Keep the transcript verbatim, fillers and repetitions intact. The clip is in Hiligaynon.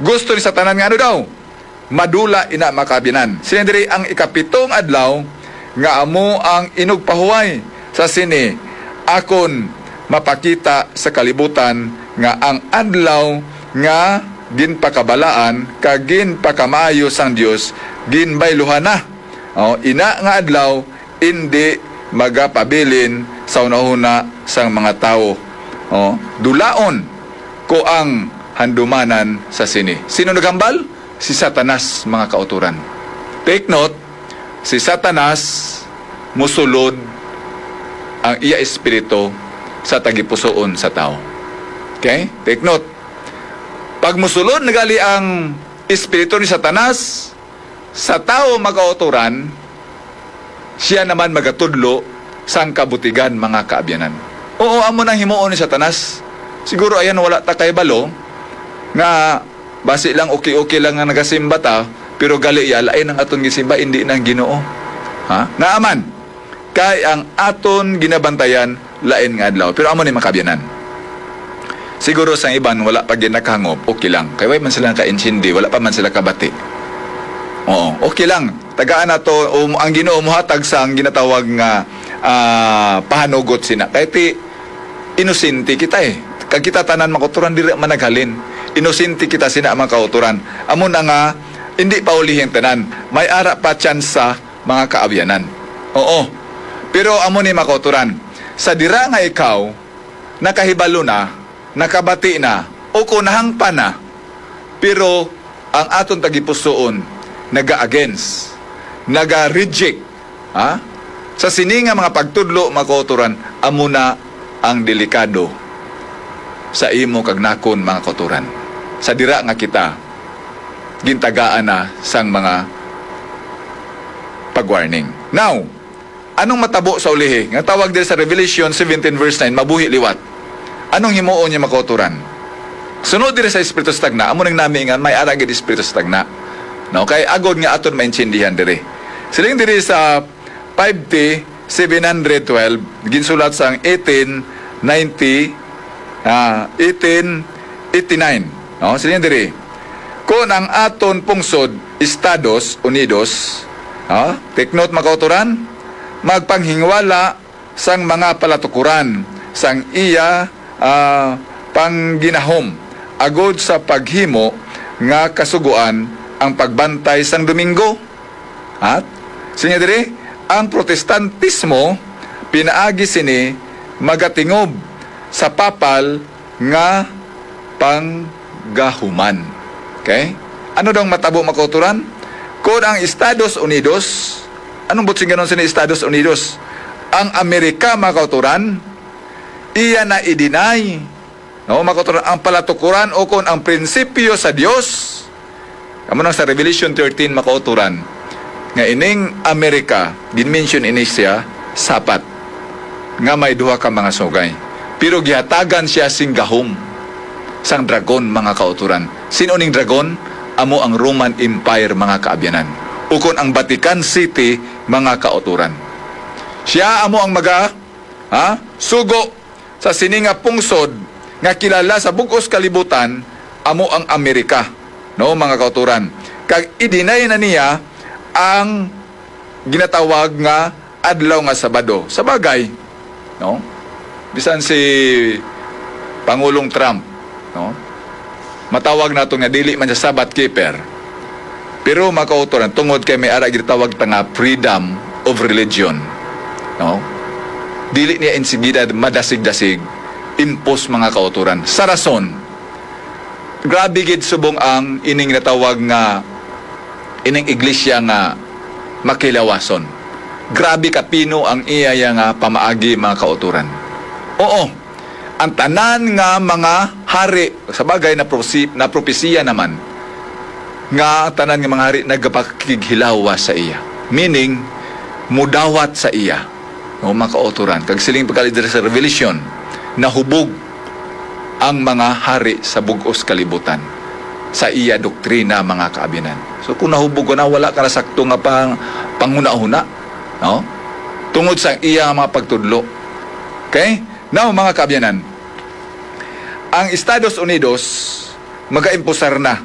Gusto ni Satanas nga ano daw? Madula ina, mga kaabyanan. Sini diri ang ikapitong adlaw nga amo ang inugpahuway sa sini, akon mapakita sa kalibutan nga ang adlaw nga ginpakabalaan kag ginpakamaayo sang Dios ginbayluhan na. O, ina nga adlaw indi magapabilin sa hunahuna sang mga tawo. O, dulaon ko ang handumanan sa sini. Sino naghambal? Si Satanas, mga kautoran. Take note, si Satanas musulod ang iya espiritu sa tagipusoon sa tawo. Okay? Take note. Pag musulod na gali ang espiritu ni Satanas sa tawo, mga kautoran, siya naman magatudlo sang kabutigan, mga kaabyanan. Oo, amo nang himuon ni Satanas. Siguro ayan, wala ta kay balo nga basi lang, okay-okay lang nga nagasimba ta, pero gali ya, lain ang aton gisimba, hindi nang Ginoo. Ha? Nga aman, kay ang aton ginabantayan lain nga adlaw. Pero amo ni, mga kaabyanan. Siguro sang iban wala pa gid nakahangop, okay lang. Kay way man sila nakaintindi, wala pa man sila kabati. Oo, okay lang. Tagaan nato, um, ang Ginoo mohatag sang ginatawag nga, ah, pahanugot sina. Kay ti, inosente kita eh. Kag kita tanan, mga kautoran, diri man naghalin. Inosente kita sina, mga kautoran. Amo na nga, hindi pa ulihi ang tanan. May ara pa tsansa, mga kaabyanan. Oo. Pero amo ni, mga kautoran, sa dira nga ikaw nakahibalo na, nakabati na, o kung nahangpan na, pero ang aton tagipusoon naga-against, naga-reject, ha? Sa sini nga mga pagtudlo, mga kautoran, amo na ang delikado sa imo kag nakon, mga kautoran. Sa dira nga kita gintagaan na sang mga pag-warning. Now, anong matabo sa ulihi? Nga tawag diri sa Revelation seventeen verse nine, mabuhi liwat. Anong himuon niya, mga kautoran? Sunod diri sa espiritu sa tagna, amo nang nami nga may ara gid espiritu sa tagna. No, kay agod nga aton maintindihan diri. Siling diri sa five T seven hundred twelve, ginsulat sang eighteen ninety, ah, eighteen eighty-nine. No, siling diri, kung ang aton pungsod, Estados Unidos, ha? Take note, mga kautoran, magpanghingwala sang mga palatukuran sang iya, ah, pangginahom agod sa paghimo nga kasugoan ang pagbantay sang Domingo. At sinya diri, ang Protestantismo pinaagi sini magatingob sa papal nga panggahuman. Okay? Ano daw ang matabo, mga kautoran? Kung ang Estados Unidos, anong butsinganon sini Estados Unidos? Ang Amerika, mga kautoran, iya na i-deny, no, mga kautoran, ang palatukuran o kung ang prinsipyo sa Dios. Amo nang sa Revelation thirteen, mga kautoran, nga ining Amerika, ginmention ini siya sapat nga may duha ka mga sugay. Pero gihatagan siya sing gahom sang dragon, mga kautoran. Sino ning dragon? Amo ang Roman Empire, mga kaabyanan. Ukon ang Vatican City, mga kautoran. Siya amo ang maga, ha, sugo sa sini nga pungsod nga kilala sa bug-os kalibutan, amo ang Amerika, no, mga kautoran. Kag i-deny na niya ang ginatawag nga adlaw nga Sabado. Sa bagay, no? Bisan si Pangulong Trump, no? Matawag nato nga dili man siya Sabbath keeper. Pero, mga kautoran, tungod kay may ara ginatawag ta nga freedom of religion, no? Dili niya insigida madasig-dasig impose, mga kautoran. Sa rason, grabe gid subong ang ining natawag nga ining iglesia nga makilawason. Grabe ka pino ang iya nga pamaagi, mga kautoran. Oo, ang tanan nga mga hari, sa bagay, na prosi-, na propesiya naman nga ang tanan nga mga hari nagapakighilawa sa iya. Meaning, mudawat sa iya. O, mga kautoran, kag siling pagkali diri sa Revelation, nahubog ang mga hari sa bug-os kalibutan sa iya doktrina, mga kaabyanan. So, kung nahubog ka na, wala ka na sakto nga pang, panghunahuna, no? Tungod sa iya nga mga pagtudlo. Okay? Now, mga kaabyanan, ang Estados Unidos magaimpusar na